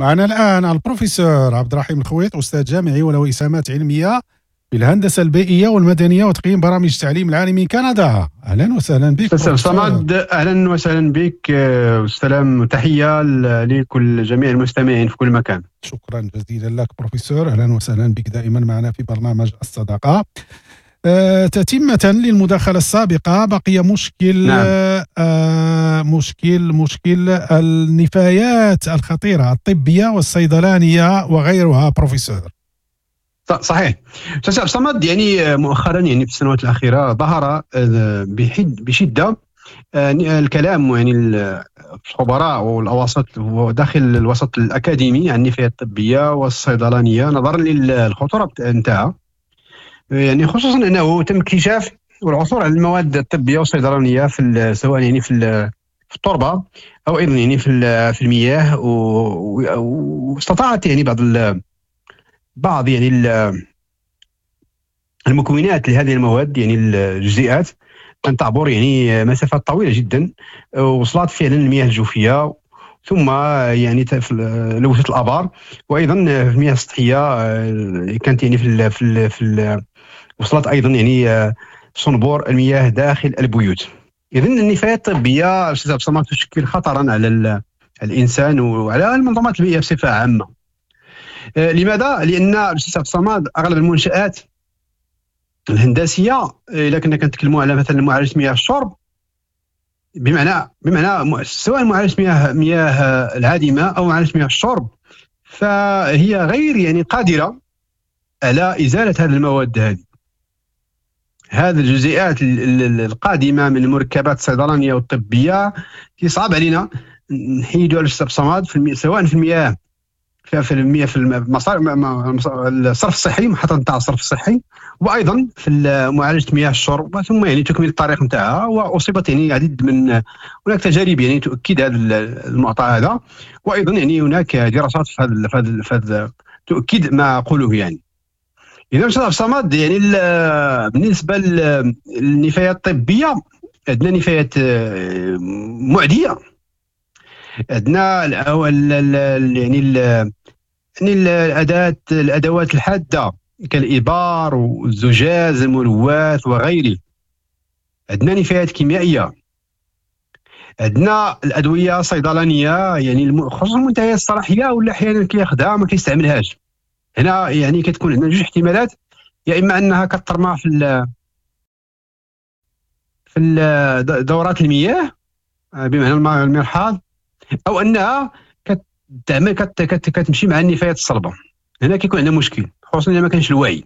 معنا الآن البروفيسور عبد الرحيم الخويط، أستاذ جامعي وله إسهامات علمية في الهندسة البيئية والمدنية وتقييم برامج التعليم العالي من كندا. أهلا وسهلا بك. أستاذ صمد، أهلا وسهلا بك، والسلام وتحية لكل جميع المستمعين في كل مكان. شكرا جزيلا لك بروفيسور، أهلا وسهلا بك دائما معنا في برنامج الصداقة. تتمة للمداخلة السابقة، بقي مشكل. نعم. مشكل النفايات الخطيرة الطبية والصيدلانية وغيرها بروفيسور. صحيح أستاذ صمد، يعني مؤخرا يعني في السنوات الأخيرة ظهر بشدة الكلام يعني الخبراء والأوساط وداخل الوسط الأكاديمي عن النفايات الطبية والصيدلانية نظرا للخطورة نتاعها، يعني خصوصا انه تم اكتشاف والعثور على المواد الطبية والصيدلانيه في سواء يعني في التربة او ايضا يعني في المياه، واستطاعت يعني بعض يعني المكونات لهذه المواد يعني الجزيئات ان تعبر يعني مسافات طويلة جدا، وصلت فعلا المياه الجوفيه، ثم يعني لوثت الابار، وايضا في المياه السطحية كانت يعني في في في وصلت ايضا يعني صنبور المياه داخل البيوت. اذا النفايات الطبية استاذ عبد الصمد تشكل خطرا على الانسان وعلى المنظومات البيئية بصفة عامة. لماذا؟ لان استاذ عبد الصمد اغلب المنشات الهندسية اذا كنا كنتكلموا على مثلا معالجة مياه الشرب، بمعنى سواء معالجة مياه العادمه او معالجة مياه الشرب، فهي غير يعني قادرة على ازالة هذه المواد، هذه الجزيئات القادمة من المركبات الصيدلانيه والطبية. صعب علينا نحيدوا على الاستاذ صمد سواء في المياه في المياه في الصرف الصحي، محطة نتاع الصرف الصحي، وايضا في معالجة مياه الشرب، ثم يعني تكمل الطريق نتاعها. واصيبت يعني عديد من هناك تجارب يعني تؤكد هذا المعطى هذا، وايضا يعني هناك دراسات في هذا تؤكد ما اقوله يعني. اذا استاذ عبد الصمد يعني بالنسبة للنفايات الطبية عندنا نفايات معدية، عندنا يعني الادوات الحادة كالإبار والزجاج الملوث وغيره، عندنا نفايات كيميائية، عندنا الادوية الصيدلانيه يعني خصوصا منتهية الصلاحية ولا احيانا كياخذها ما كيستعملهاش. هنا يعني كتكون عندنا جوج احتمالات، يا اما انها كترمى في دورات المياه بمعنى المرحاض، او انها كتعمل كتمشي مع النفايات الصلبة. هنا كيكون عندنا مشكل خصوصا اذا ما كانش الوعي.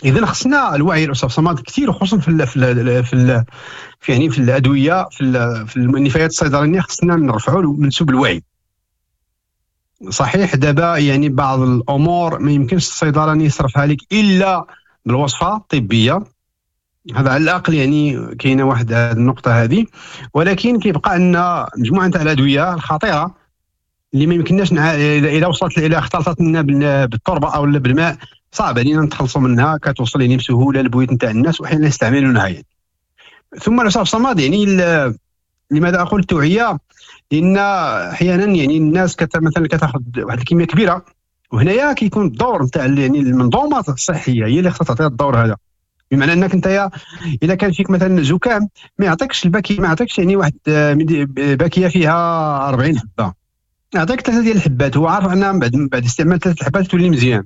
اذا خصنا الوعي الاستاذ صمد كثير، خصوصا في في في في يعني في الادوية في النفايات الصيدلانيه خصنا نرفعوا منسوب الوعي. صحيح دابا يعني بعض الامور ما يمكنش الصيدلاني يصرفها لك الا بالوصفه الطبية، هذا على الاقل يعني كاينه واحد النقطة هذه، ولكن كيبقى عندنا مجموعة تاع الادوية الخطيرة اللي ما يمكنناش اذا وصلت الى اختلطت لنا بالتربه او بالماء صعب علينا نتخلصوا منها، كتوصل يعني بسهولة للبيوت نتاع الناس واحيانا يستعملونها يعني. ثم الاستاذ صمد يعني لماذا اقول التوعية؟ لان احيانا يعني الناس مثلا كتاخذ واحد الكمية كبيرة، وهنايا كيكون الدور نتاع يعني المنظومة الصحية هي اللي خصها تعطيها الدور هذا، بمعنى انك انت اذا كان فيك مثلا زكام ما يعطيكش الباكيه، ما يعطيكش يعني واحد باكية فيها 40 حبه، يعطيك 3 ديال الحبات، هو عارف انها بعد استعمال 3 الحبات تولي مزيان.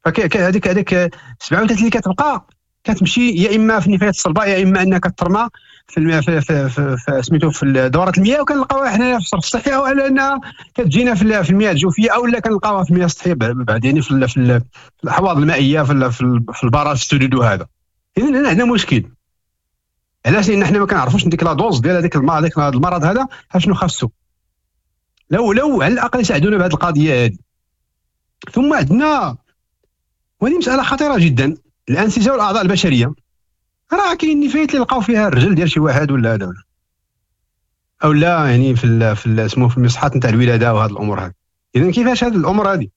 فهذيك 37 اللي كتبقى كتمشي يا اما في النفايات الصلبة يا اما انها كترمى في في في, في سميتو في دورات المياه، وكنلقاوها حنايا في الصرف الصحي، او على انها كتجينا في المياه الجوفيه، او لا كنلقاوها في المياه السطحية بعد يعني في الاحواض المائية في البراج السدود وهذا. اذا هنا عندنا مشكل. علاش؟ لان حنا ما كنعرفوش ديك la dose ديال هذاك المرض هذا شنو خاصو. لو على الاقل يساعدونا بهذه القضية هذه. ثم عندنا وهذه مسالة خطيرة جدا، الانسجة والاعضاء البشرية. راه كاين نفايات اللي لقاو فيها الرجل ديال شي واحد ولا هذا او لا يعني في اسمه في المصحات نتاع الولادة وهذه الامور هذه. اذا كيفاش هذه الامور هذه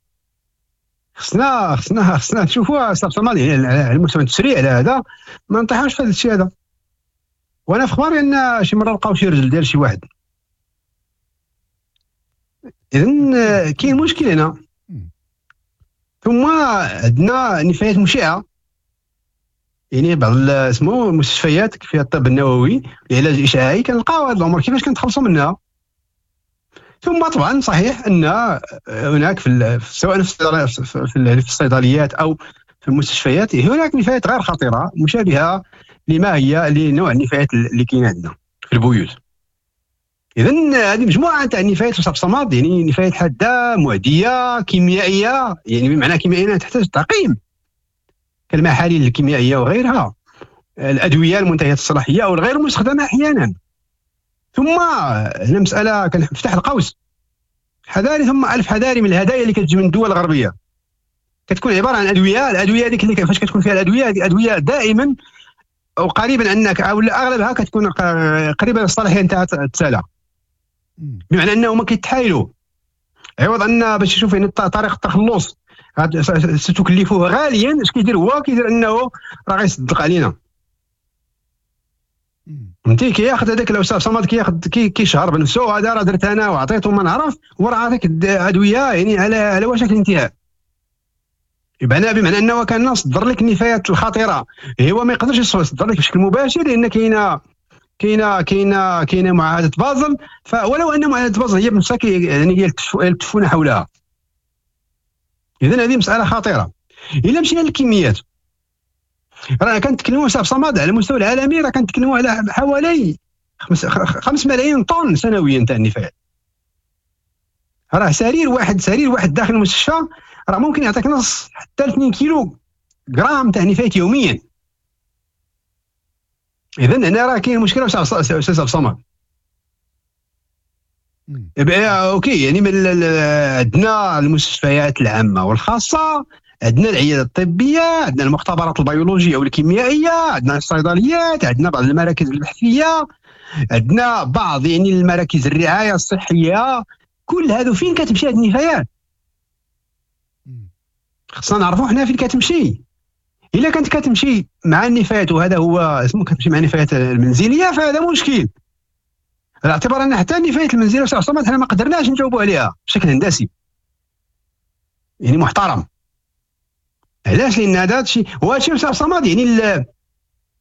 خصنا خصنا خصنا نشوفوها يعني على المستوى التسريع على هذا، ما نطيحوش في هذا الشيء هذا. وانا في خباري ان شي مرة لقاو شي رجل ديال شي واحد. اذا كاين مشكل هنا. ثم عندنا نفايات مشعه، يعني بعض اسمه المستشفيات فيها الطب النووي، العلاج الاشعاعي، كنلقاو هذه الامور كيفاش كنتخلصوا منها. ثم طبعا صحيح ان هناك في سواء في الصيدليات او في المستشفيات هناك نفايات غير خطيرة مشابهة لما هي لنوع النفايات اللي كاينه عندنا في البيوت. اذا هذه مجموعة تاع النفايات صمد، يعني نفايات حادة معدية كيميائية، يعني بمعنى كيميائية تحتاج تعقيم كالمحاليل الكيميائية وغيرها، الادوية المنتهية الصلاحية او الغير مستخدمة احيانا. ثم هنا مسالة كنفتح القوس، حذاري ثم الف حذاري من الهدايا اللي كتجي من الدول الغربية، كتكون عبارة عن ادوية. الادوية هذيك اللي فاش كتكون فيها الادوية، هذه ادوية دائما او قريبا انك او اغلبها كتكون قريبه للصلاحيه نتاع التسالى، بمعنى انهم كيتحايلوا عوض ان باش يشوف يعني طريقه التخلص ستكلفه غاليا، اش كيدير هو؟ كيدير انه راه غيصدق علينا، فهمتي؟ كياخذ هذاك الاستاذ صمد كياخذ كيشهر بنفسه، هذا راه درت انا وعطيته ما نعرف، وراه عطيك ادوية يعني على وشك الانتهاء. يبقى بمعنى انه كان صدر لك النفايات الخطيرة، هو ما يقدرش يصدر لك بشكل مباشر لان كاينه كاينه كاينه كاينه معاهدة بازل، فولو ان معاهدة بازل هي بنفسها يعني يلتفون حولها. اذا هذه مسالة خطيرة. الا مشينا للكميات، راه كنتكلموا استاذ صمد على المستوى العالمي، راه كنتكلموا على حوالي 5 ملايين طن سنويا تاع النفايات. راه سرير واحد داخل المستشفى راه ممكن يعطيك نص حتى 2 كيلو غرام تاع نفايات يوميا. اذا هنا راه كاين مشكلة استاذ صمد. OK، يعني عندنا المستشفيات العامة والخاصة، عندنا العيادة الطبية، عندنا المختبرات البيولوجية والكيميائيه، عندنا الصيدليات، عندنا بعض المراكز البحثية، عندنا بعض يعني المراكز الرعاية الصحية. كل هادو فين كتمشي هاد النفايات؟ خصنا نعرفوا حنا فين كتمشي. الا كانت كتمشي مع النفايات، وهذا هو اسمه كتمشي مع النفايات المنزلية، فهذا مشكل. على اعتبار ان حتى النفايات المنزلية صمد حنا ما قدرناش نجاوبوا عليها بشكل هندسي يعني محترم. علاش؟ لان هذا الشيء هو هادشي صمد. يعني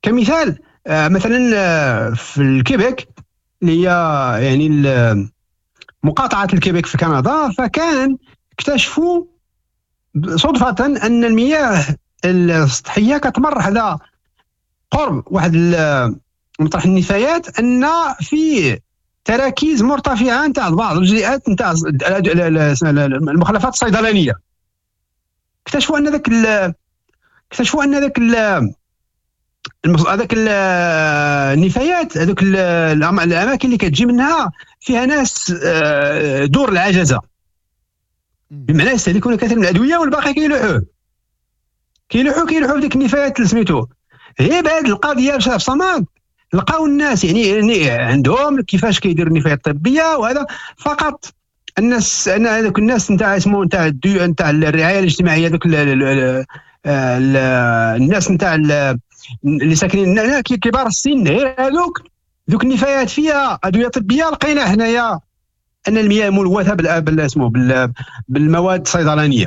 كمثال مثلا في الكيبيك اللي هي يعني مقاطعه الكيبيك في كندا، فكان اكتشفوا صدفة ان المياه السطحية كتمر حدا قرب واحد مطرح النفايات، ان فيه تراكيز مرتفعة نتاع بعض الجزيئات نتاع المخلفات الصيدلانيه. اكتشفوا ان ذاك اكتشفوا ان ذاك هذاك النفايات، هذوك الاماكن اللي كتجي منها فيها ناس دور العجزة، بمعنى يستهلكون كثير من الادوية والباقي كيلوحوه كيلوحوه في ديك النفايات اللي سميتو. غير بهذه القضية في صمد لقاو الناس يعني عندهم كيفاش كيديروا النفايات الطبية وهذا. فقط الناس ان هذوك الناس نتاع اسمه نتاع نتاع الرعاية الاجتماعية، دوك الناس نتاع اللي ساكنين هنا كبار السن، غير هذوك دوك النفايات فيها ادوية طبية. لقينا حنايا ان المياه ملوثة بالاسمو بالمواد الصيدلانيه.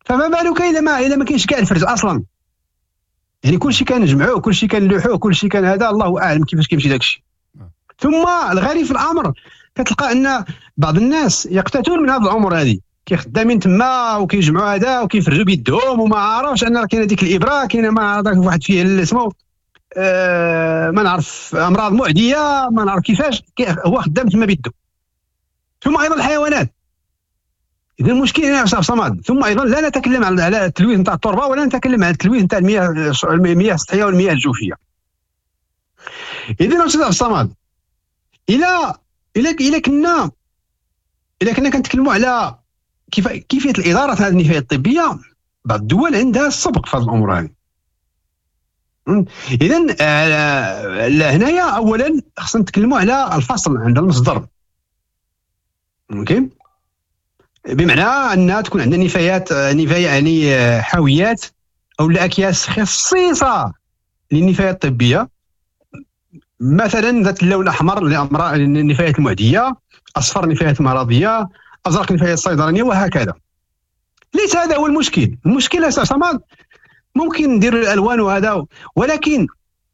فما بالك الا ما كاينش كاع الفرز اصلا، يعني كلشي كنجمعوه، كلشي كنلوحوه، كلشي كان هذا، الله اعلم كيفاش كيمشي داكشي. ثم الغريب في الامر كتلقى ان بعض الناس يقتاتون من هذه الامور هذه، كيخدامين تما وكيجمعوا هذا وكيفرزوا بيدهم وما عارفش ان راه كاينه ديك الابره، كاينه ما عرف واحد فيه اسمه ما نعرف امراض معدية، ما نعرف كيفاش هو خدام تما بيدو. ثم ايضا الحيوانات. اذا المشكل هنا في صمد. ثم ايضا لا نتكلم على التلويث نتاع التربة، ولا نتكلم على التلويث نتاع المياه السطحية والمياه الجوفيه. اذا استاذ صمد، الى الى الى كنا الى كنا كنتكلموا على كيفية الادارة هذه النفايات الطبية، بعض الدول عندها السبق في هذه الامور هذه. اذا هنايا اولا خصنا نتكلموا على الفصل عند المصدر. OK، بمعنى ان تكون عندنا نفايات يعني حاويات او اكياس خصيصه للنفايات الطبية، مثلا ذات اللون الاحمر لامراض النفايات المعدية، اصفر النفايات المرضية، ازرق النفايات الصيدلانيه، وهكذا. ليس هذا هو المشكل. المشكل صمد ممكن نديروا الالوان وهذا، ولكن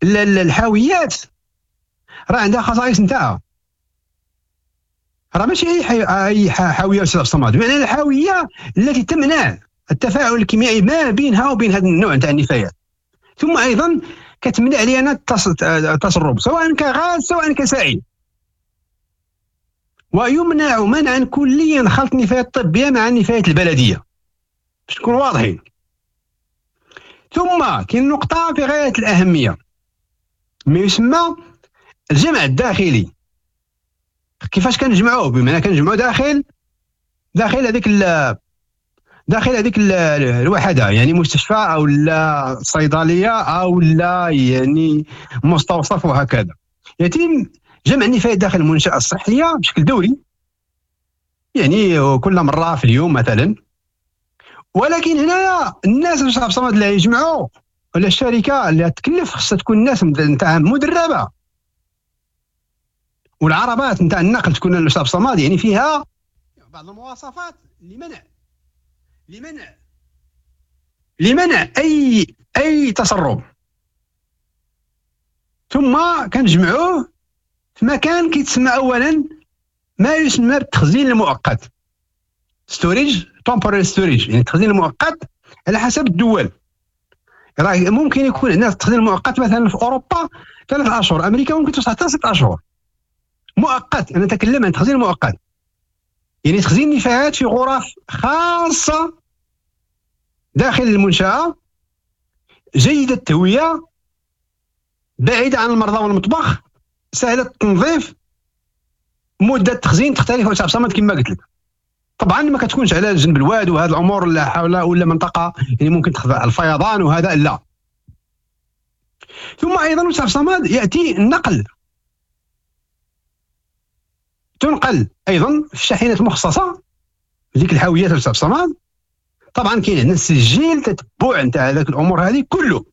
الحاويات راه عندها خصائص نتاعها، راه ماشي اي حاوية استاذ صمد، بمعنى الحاويه التي تمنع التفاعل الكيميائي ما بينها وبين هذا النوع نتاع النفايات. ثم ايضا كتمنع لنا التسرب سواء كغاز سواء كسائل، ويمنع منعا كليا خلط النفايات الطبية مع النفايات البلدية باش نكونوا واضحين. ثم كاين نقطة في غاية الاهمية، ما يسمى الجمع الداخلي. كيفاش كنجمعوه؟ بمعنى كنجمعوه داخل هذيك الوحدة، يعني مستشفى او لا صيدلية او لا يعني مستوصف وهكذا. يتم جمع النفايات داخل المنشاة الصحية بشكل دوري، يعني كل مرة في اليوم مثلا. ولكن هنايا الناس اللي صمد اللي يجمعوا ولا الشركة اللي تكلف خصها تكون الناس نتاعها مدربه، والعربات نتاع النقل تكون الاستاذ صمد يعني فيها بعض المواصفات لمنع اي تسرب. ثم كنجمعوه في مكان كيتسمى اولا ما يسمى بالتخزين المؤقت، storage temporary storage، يعني التخزين المؤقت على حسب الدول. راه ممكن يكون عندنا التخزين المؤقت مثلا في اوروبا 3 اشهر، امريكا ممكن توصل حتى 6 اشهر مؤقت. انا نتكلم عن تخزين مؤقت، يعني تخزين النفايات في غرف خاصة داخل المنشاة، جيدة التهويه، بعيدة عن المرضى والمطبخ، سهلة التنظيف، مده التخزين تختلف حسب صمد كما قلت لك. طبعا ما كتكونش على جنب الواد وهذه الامور لا حول ولا منطقة يعني ممكن تخضع الفيضان وهذا لا. ثم ايضا حسب صمد ياتي النقل، تنقل ايضا في شاحنات مخصصة ديك الحاويات حسب صمد. طبعا كاين عندنا السجل تتبع نتاع هذاك الامور هذه كله،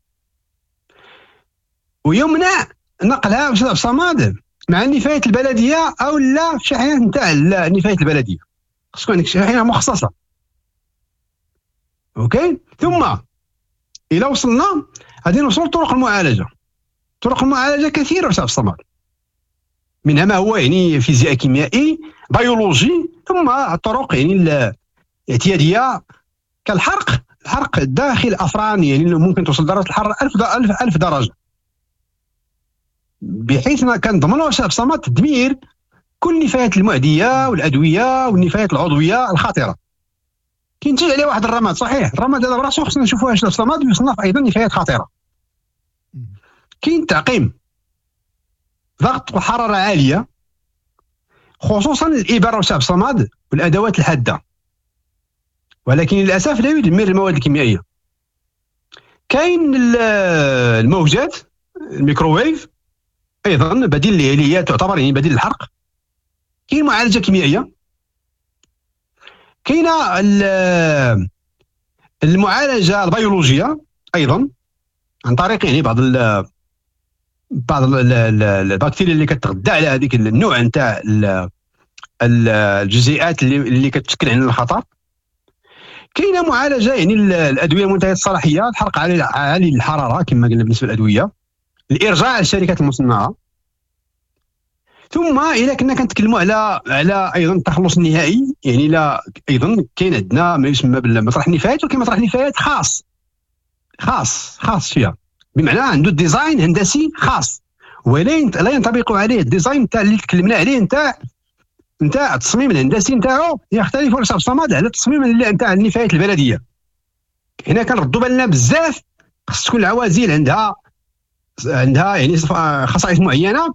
ويمنع نقلها حسب صمد مع النفايات البلدية او لا في شاحنات نتاع النفايات البلدية، خص تكون عندك شاحنة مخصصة. OK. ثم الى وصلنا غادي نوصل لطرق المعالجة. طرق المعالجة كثيرة حسب الصمد، منها ما هو يعني فيزياء كيميائي بيولوجي، ثم الطرق يعني الاعتيادية كالحرق، الحرق داخل افران يعني ممكن توصل درجه الحرارة 1000 درجه، بحيث كنضمنوا حسب الصمد تدمير كل النفايات المعدية والادوية والنفايات العضوية الخطيرة. كينتج عليه واحد الرماد، صحيح الرماد هذا براسو خصنا نشوفوه حسب الصمد يصنف ايضا نفايات خطيرة. كاين تعقيم، ضغط وحرارة عالية، خصوصا الابر وسعب صمد والادوات الحادة، ولكن للاسف لا يدمر المواد الكيميائية. كاين الموجات الميكروويف ايضا بديل اللي هي تعتبر يعني بديل الحرق. كاين معالجة كيميائية، كاينه المعالجة البيولوجية ايضا عن طريق يعني بعض البكتيريا اللي كتغذى على هذيك النوع نتاع الجزيئات اللي كتشكل عندنا الخطر. كاينه معالجة يعني الادوية المنتهية الصلاحية، الحرق عالي الحرارة كما قلنا بالنسبة للادوية، الارجاع للشركات المصنعة. ثم اذا كنا كنتكلموا على ايضا التخلص النهائي، يعني لا ايضا كاين عندنا ما يسمى بالمطرح النفايات، وكاين مطرح نفايات خاص خاص خاص فيها، بمعنى عنده design هندسي خاص ولا لا ينطبق عليه ال design تاع اللي تكلمنا عليه نتاع التصميم الهندسي نتاعو يختلف على الصمد على التصميم اللي نتاع النفايات البلدية. هنا كنردوا بالنا بزاف، خص تكون العوازل عندها يعني خصائص معينة.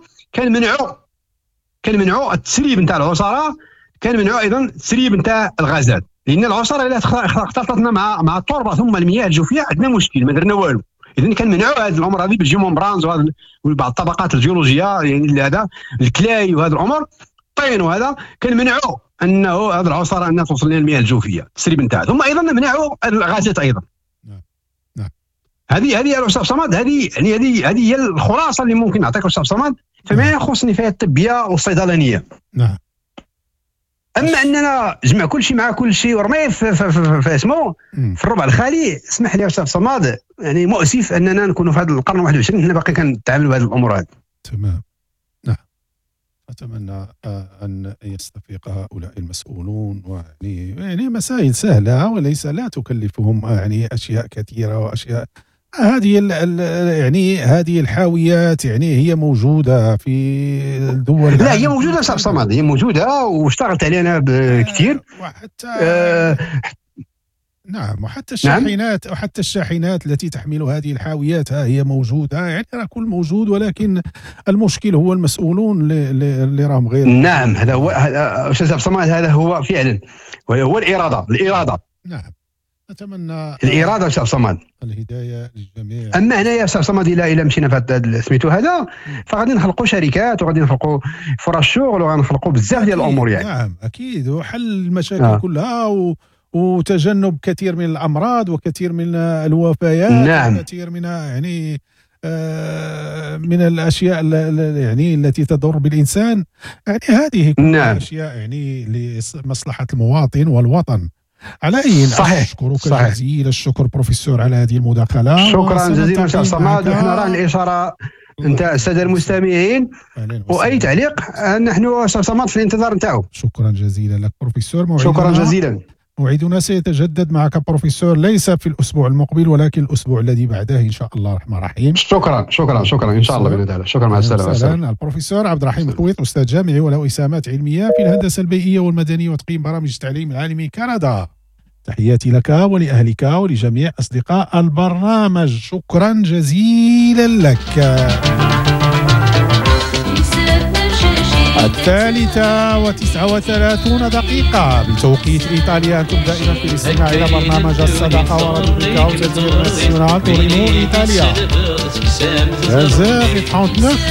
كنمنعوا التسريب نتاع العصاره، كنمنعوا ايضا التسريب نتاع الغازات، لان العصاره الا اختلطتنا مع التربة ثم المياه الجوفيه عندنا مشكل، ما درنا والو. اذا كنمنعوا هذه الامور هذه بال géomembranes وبعض الطبقات الجيولوجيه، يعني هذا ال clay وهذا الامور الطين وهذا، كنمنعوا انه هذه العصاره انها توصل لنا المياه الجوفيه التسريب نتاعها، ثم ايضا نمنعوا الغازات ايضا. نعم. هذه الاستاذ صمد، هذه يعني هذه هي الخلاصة اللي ممكن نعطيك الاستاذ صمد فيما يخص النفايات الطبية والصيدلانيه. نعم. اما اننا جمع كل شيء مع كل شيء ورميه في اسمه في الربع الخالي، اسمح لي استاذ صماد، يعني مؤسف اننا نكونوا في هذا القرن 21 حنا باقي كنتعاملوا بهذه الامور هذه. تمام. نعم. أتمنى أن يستفيق هؤلاء المسؤولون، ويعني مسائل سهلة وليس لا تكلفهم يعني أشياء كثيرة وأشياء هذه يعني هذه الحاويات يعني هي موجودة في الدول. لا هي موجودة صاحب صمد، هي موجودة واشتغلت عليها أنا كثير. وحتى نعم، وحتى الشاحنات، نعم؟ وحتى الشاحنات التي تحمل هذه الحاويات ها هي موجودة، يعني راه كل موجود، ولكن المشكل هو المسؤولون اللي راهم غير. نعم هذا هو أستاذ صمد، هذا هو فعلا هو الإرادة، الإرادة. نعم أتمنى الإرادة أستاذ صمد، الهداية للجميع. أما هنايا أستاذ صمد إلى مشينا في هذا سميتو هذا، فغادي نخلقوا شركات وغادي نخلقوا فرص شغل وغنخلقوا بزاف ديال الأمور يعني. نعم أكيد، وحل المشاكل كلها وتجنب كثير من الأمراض وكثير من الوفيات. نعم. وكثير من يعني من الأشياء يعني التي تضر بالإنسان، يعني هذه كلها. نعم. أشياء يعني لمصلحة المواطن والوطن. على أي صحيح. أشكرك صحيح. جزيل الشكر بروفيسور على هذه المداخلة. شكرا جزيلا أستاذ صمد، وحنا راه الإشارة أنت السادة المستمعين، وأي تعليق نحن أستاذ صمد في الانتظار نتاعو. شكرا جزيلا لك بروفيسور. شكرا جزيلا. موعدنا سيتجدد معك بروفيسور ليس في الأسبوع المقبل ولكن الأسبوع الذي بعده إن شاء الله الرحمن الرحيم. شكرا شكرا شكرا إن شاء الله بإذن الله. شكرا، مع السلامة. البروفيسور عبد الرحيم الخويط، أستاذ جامعي وله إسهامات علمية في الهندسة البيئية والمدنية وتقييم برامج التعليم العالمي كندا. تحياتي لك ولأهلك ولجميع أصدقاء البرنامج، شكرا جزيلا لك. 3:39 بتوقيت إيطاليا. أنتم دائما في الاستماع إلى برنامج الصداقة وراديو بالكاو تناسيونال تورينو إيطاليا. 13h39.